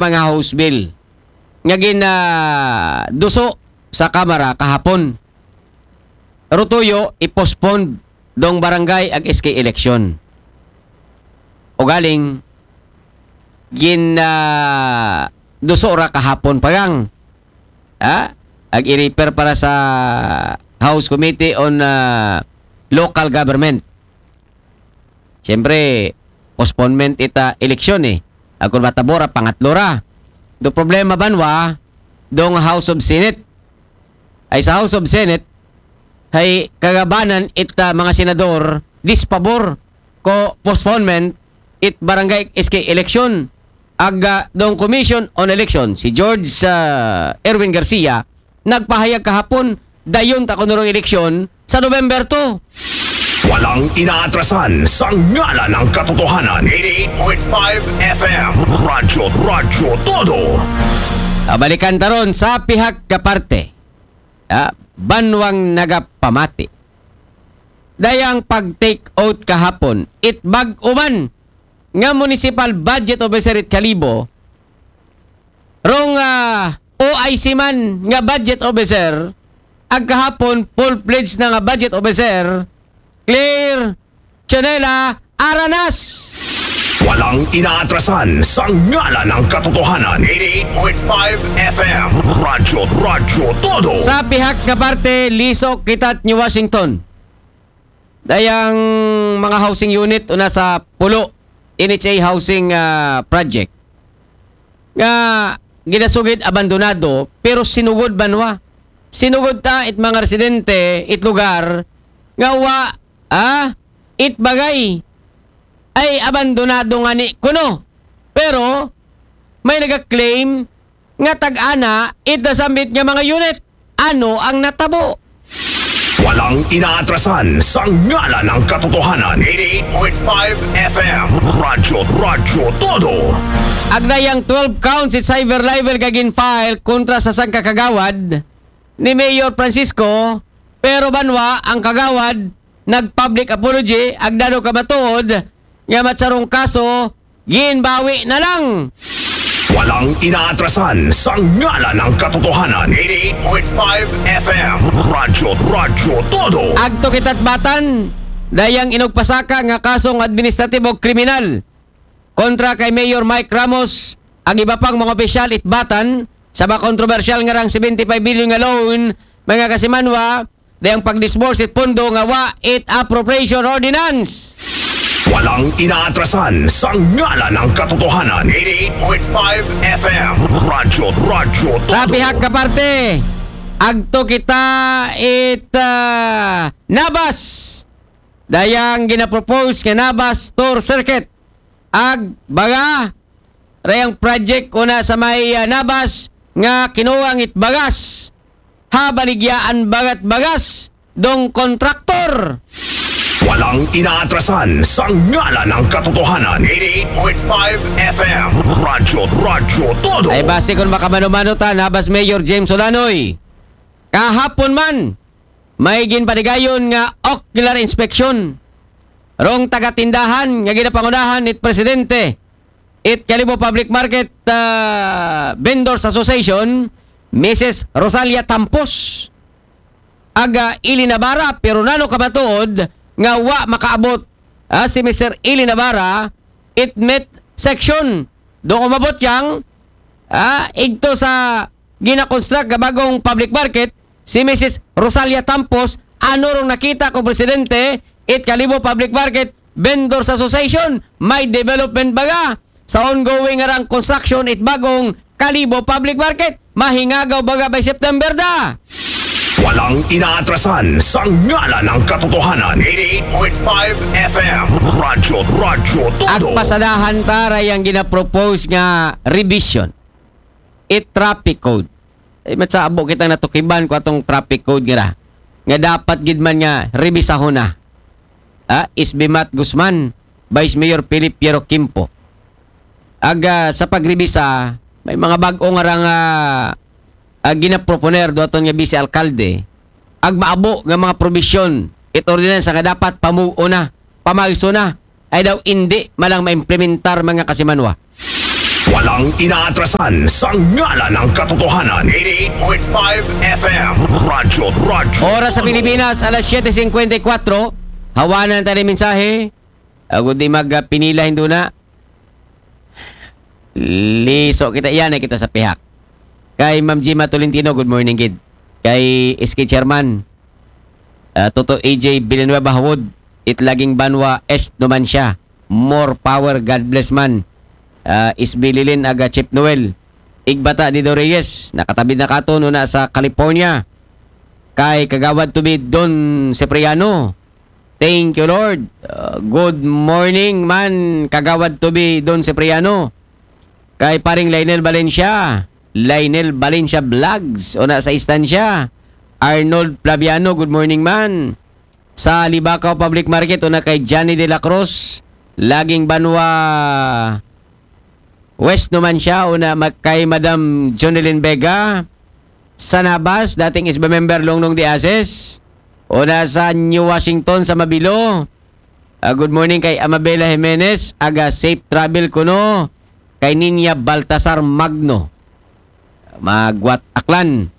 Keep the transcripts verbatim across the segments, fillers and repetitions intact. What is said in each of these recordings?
mga House Bill nga ginaduso sa Kamara kahapon. Rutuyo, i-postpone dong barangay ag S K election. O galing, gin ah, duso ra kahapon pagang. Ha? Ag i-refer para sa House Committee on ah, Local Government. Siyempre, postponement ita eleksyon eh. Ako matabo ra, pangatlo ra. Do problema banwa, dong House of Senate. Ay sa House of Senate, hay kagabanan ita mga senador, dispabor ko postponement it barangay S K election. Aga dong Commission on Election, si George ah, Erwin Garcia, nagpahayag kahapon, dayon ta kuno rong eleksyon sa November two. Walang inaatrasan sa ngalan ng katotohanan. eighty-eight point five F M. Radyo, Radyo Todo. Ah, balikan taron sa pihak ka parte. Ah, banwang nagapamati. Dayang pag-take out kahapon, it bag-o man nga municipal budget officer it Kalibo, rong ah, O I C man nga budget officer, ag kahapon full-fledged na nga budget officer, Claire Chanela Aranas. Walang inaatrasan sa ngalan ng katotohanan. eighty-eight point five F M. Radyo, Radyo Todo. Sa pihak nga parte, lisok kita't New Washington. Dayang mga housing unit una sa Pulo, N H A housing ah, project, nga ginasugid abandonado, pero sinugod banwa. Sinugod ta it mga residente, it lugar, nga wa, ah, it bagay ay abandonado nga ni kuno. Pero may nagaklaim nga tag-ana it nasambit nga mga unit. Ano ang natabo? Walang inaatrasan sa ngalan ng katotohanan. eighty-eight point five F M. Radyo, Radyo Todo. Agdayang twelve counts it cyber libel nga gin-file kontra sa sangka kagawad ni Mayor Francisco, pero banwa ang kagawad nag-public apology, agdado ka matuod nga matsarong kaso, ginbawi na lang. Walang inaatrasan sa ngalan ng katotohanan. eighty-eight point five F M. Radyo, Radyo Todo. Agto kita't Batan, dayang inugpasaka nga kasong administratibo kriminal kontra kay Mayor Mike Ramos, ag iba pang mga opisyal it Batan, sa mga kontrobersyal nga rang seventy-five billion nga loan, mga kasimanwa, dayang pag-disburse it pondo nga wa it appropriation ordinance. Walang inaatrasan sa ngalan ng katotohanan. eighty-eight point five F M. Radyo, Radyo Todo. Sa pihak ka parte, agto kita it ah, Nabas. Dayang ginapropose nga Nabas Tour Circuit. Ag baga, rayang project una sa may ah, Nabas nga kinuwang it bagas. Ha, baligyaan bagat bagas dong kontraktor. Walang inaatrasan sa ngalan ng katotohanan. eighty-eight point five F M. Radyo, Radyo Todo. Ay base kung makamano-mano ta, Nabas Mayor James Olanoy. Kahapon man, may ginpanigayon nga ocular inspection rong tagatindahan nga ginapangunahan it presidente it Kalibo Public Market ah, Vendors Association, Missus Rosalia Tampos. Aga Ili Navarra, pero nano kamatuod nga wa makaabot ah, si Mister Ili Navarra it midsection. Doon umabot yang ah, igto sa ginakonstruct nga bagong public market, si Missus Rosalia Tampos, ano rong nakita ko presidente it Kalibo Public Market Vendors Association, may development baga sa ongoing nga rang construction it bagong Kalibo Public Market. Mahingagaw baga by September da. Walang inaatrasan sa ngalan ng katotohanan. eighty-eight point five F M. Radyo, Radyo Todo. Agpasadahan ta rayang ginapropose nga revision it traffic code. Ay, matsabo kitang natukiban ko atong traffic code nga ra. Nga dapat gid man nga revisahon na. Ah, Isbimat Guzman, Vice Mayor Philip Piero Quimpo. Aga sa pagrebisa, may mga bag-o nga ra nga ah, ginaproponer do aton nga vice alkalde, ag maabo nga mga probisyon it ordinansa nga dapat pamuo na, pamayso na, ay daw indi malang maimplementar mga kasimanwa. Walang inaatrasan sa ngalan ng katotohanan. Eighty-eight point five F M. Radyo, radyo. Oras sa Pilipinas, alas siyete singkwenta y kwatro. Hawanan tayo ng mensahe. Ago di magpinila, hindi na. Liso kita, yan na kita sa pihak. Kay Ma'am Gima Tolentino, good morning, gid. Kay S K Chairman, ah, Toto A J Villanueva Hawod, Itlaging Banwa Est naman siya. More power, God bless man. Ah, Isbililin aga Chip Noel. Igbata Dido Reyes, nakatabid na katon una sa California. Kay Kagawad Tubi Don Cipriano. Thank you, Lord. Uh, good morning man, Kagawad Tubi Don Cipriano. Kay paring Lionel Valencia. Lionel Valencia Vlogs. Una sa istansya. Arnold Flaviano, good morning man. Sa Libacao Public Market, una kay Johnny de la Cruz. Laging Banwa West naman siya, una ma- kay Madam Jonelyn Vega. Sa Nabas, dating S B member Longnong de Ases. Una sa New Washington sa Mabilo. Ah, good morning kay Amabela Jimenez, aga safe travel kuno kay Ninya Baltasar Magno. Magwat Aklan.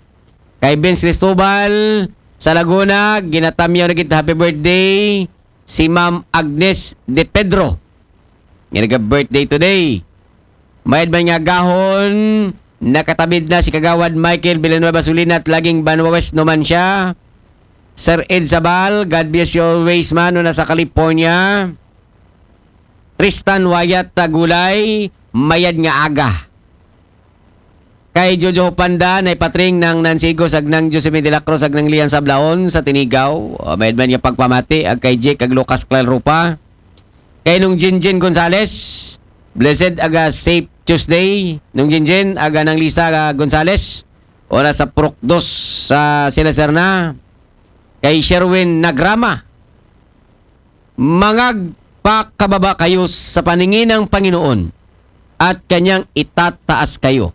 Kay Vince Cristobal sa Laguna, ginatamyaw na kita happy birthday si Ma'am Agnes De Pedro. Nga naga-birthday today. Mayad man nga gahon, nakatabid na si Kagawad Michael Villanueva Sulinat, Laging Banwa West naman siya. Sir Ed Sabal, God bless you always man, una sa California. Tristan Wyatt Tagulay, mayad nga aga. Kay Jojo Panda, nay patring ng Nansigo, sagnang Joseph de la Cruz, sagnang Lian Sablaon sa Tinigaw. O, mayad man nga pagpamati, ag kay Jake, ag Lucas Clalrupa. Kay Nung Jinjin Gonzales, blessed aga safe Tuesday. Nung Jinjin, aga nang Lisa Gonzales. Oras sa Prok dos sa Sila Serna. Kay Sherwin Nagrama, mangagpakababa kayo sa paningin ng Panginoon at kanyang itataas kayo.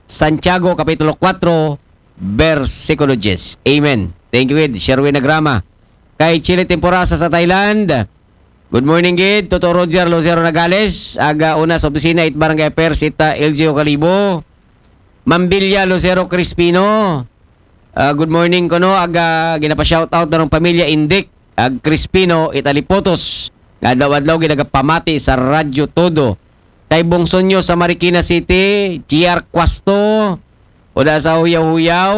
Santiago Kapitulo kwatro, bersikulo diyes. Amen. Thank you, Ed. Sherwin Nagrama. Kay Chile Temporasa sa Thailand. Good morning, Gid. Toto Roger Lucero Nagales. Aga una sa opisina it Barangay Affairs it, ah, L G O Kalibo. Mambilya Lucero Crispino. Ah, good morning kuno. Aga ginapa-shoutout na ng pamilya Indik. Ag Crispino it Alipotos. Nga adlaw-adlaw ginagapamati sa Radyo Todo. Kay Bungsonyo sa Marikina City, G R Cuasto, Oda sa Huyaw-Huyaw,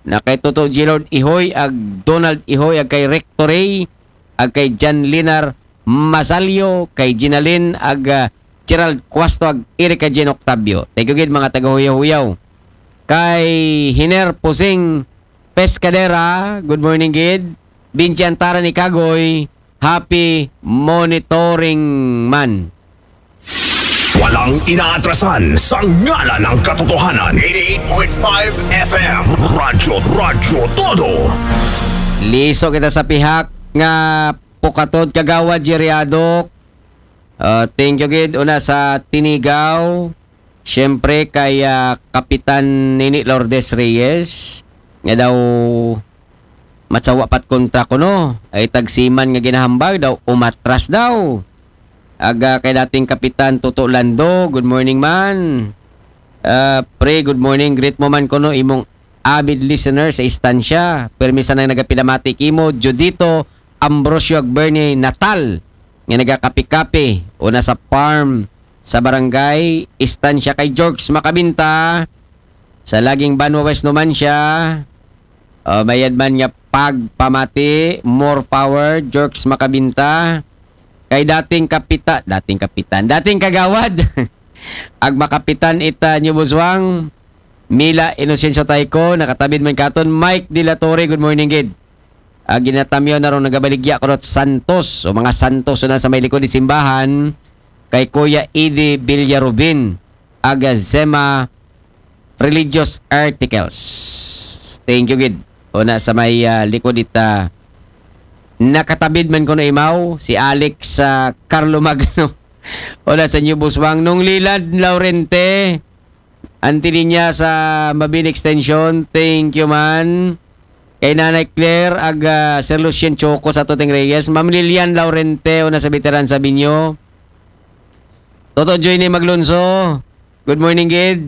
na kay Toto Gilord Ihoy, ag Donald Ihoy, ag kay Rectory, ag kay Jan Linar Masalyo, kay Ginalin, ag, ah, Gerald Cuasto, ag Erika Jean Octavio. Thank you gid, mga taga Huyaw-Huyaw. Kay Hiner Pusing Pescadera, good morning gid. Binchi Antara ni Kagoy, happy monitoring man. Walang inaatrasan sa ngalan ng katotohanan. Eighty-eight point five F M. Radyo, Radyo Todo. Liso kita sa pihak nga pukatod, Kagawad Jerry Adok. Ah, thank you gid una sa Tinigaw. Siyempre kay, ah, Kapitan Nini Lourdes Reyes nga daw matsawa pat kontra kuno. Ay tagsiman nga ginahambag daw umatras daw. Aga kay dating Kapitan Toto Lando, good morning man. Ah, pre, good morning. Greet mo man kuno imong avid listener sa istansya. Permi sanay nagapinamati kimo, Judito Ambrosio ag Bernie Natal, nga nagakapi-kapi una sa farm sa barangay Istansya kay Jorgs Makabinta. Sa Laging Banwa West naman siya. O, mayad man nga pagpamati, more power, Jorgs Makabinta. Kay dating kapita, dating kapitan, dating kagawad. Ag makapitan ita New Buswang, Mila Inocencio Tayco, nakatabid man katon, Mike De La Torre, good morning gid. Ah, ginatamyaw na ron nagabaligya ko rot Santos, o mga Santos na sa may likod di simbahan, kay Kuya Eddie Villarubin, aga Zema Religious Articles. Thank you gid. Una sa may, ah, likod ita, nakatabid man kuno imaw, si Alex, ah, Carlo Magno. Una sa New Buswang, Nung Lilad Laurente, Auntie Linya sa Mabini Extension, thank you man. Kay Nanay Claire, ag, ah, Sir Lucien Choco sa Tuting Reyes, Ma'am Lilian Laurente, una sa Veteran Sabinyo. Toto Joyny Maglonso, Good morning, gid.